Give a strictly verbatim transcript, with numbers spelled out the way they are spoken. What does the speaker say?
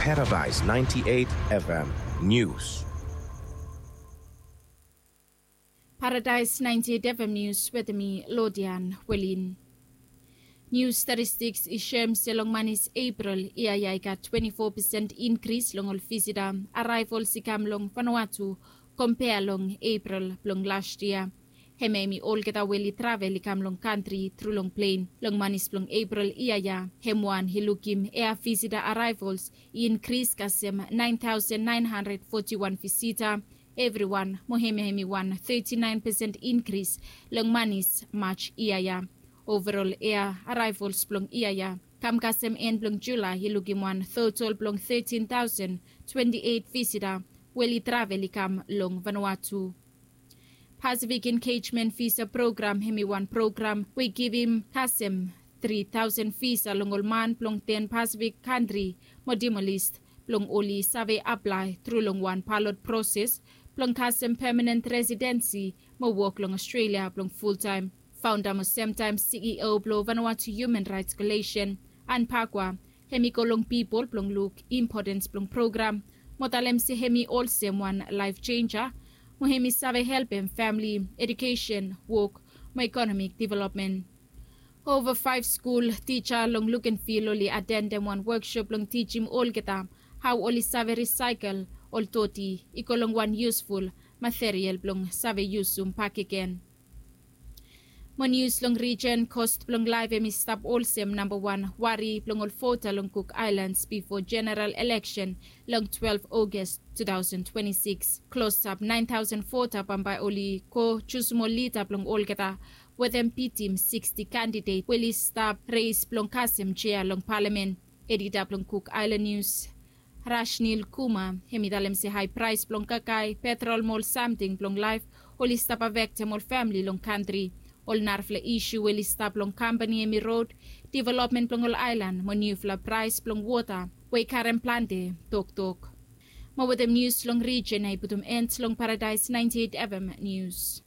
Paradise ninety-eight F M News. Paradise ninety-eight F M News wetem mi Lodian Welin. Nius statistiks i soem se long manis Epril yia ya i gat twenti fo pesen inkris long ol visita araevols i kam long Vanuatu kompea long Epril blong las yia. Hemia hemi olgeta we oli travel i kam long kantri tru long plen. Long manis blong Epril yia ya, hem wan i lukim ea visita araevols i inkris kasem naen taosen naen handred foti wan visita evriwan, mo hemia hemi wan teti naen pesen inkris long manis Maj yia ya. Ovarol ea araevols blong yia ya kam kasem en blong Julae i lukim wan totol blong tetin taosen twenti eit visita we oli travel i kam long Vanuatu. Pasifik Engejmen Visa Program hemi wan program we i givim kasem tri taosen visa long ol man blong ten Pasifik kantri mo Timor-Leste blong oli save aplae tru long wan balot proses blong kasem pemanen residensi mo wok long Ostrelia blong fultaem. Faonda mo semtaem C E O blong Vanuatu Human Raets Koalisen, Anne Pakwa, hemi go long pipol blong luk impotens blong program mo talem se hemi olsem wan laef senja mo hemi save helpem famle, ejukesen, wok mo ekonomik developmen. Ova faef skul tija long Lukenvil oli atendem wan woksop blong tijim olgeta hao oli save risaekel ol doti i go long wan yusful material blong save yusum bakegen. Mo nius long rijen, kost blong laef hemi stap olsem nambawan wari blong ol vota long Kuk Aelans bifo jeneral eleksen long twelef Ogas tu taosen twenti sikis. Klosap naen taosen vota bambae oli go jusum ol lida blong olgeta wetem bitim siksti kandidet we oli stap res blong kasem jea long palamen. Edita blong Kuk Aelan Nius, Rashnil Kumar, hemi talem se hae praes blong kakae, petrol mo ol samting blong laef oli stap afektem ol famle long kantri. Ol narafala isu we oli stap long kampani hemi rod, developmen blong ol aelan mo niufala praes blong wota we i karem plante toktok. Mo wetem nius long rijen ya i putum en long Paradaes naenti eit F M Nius.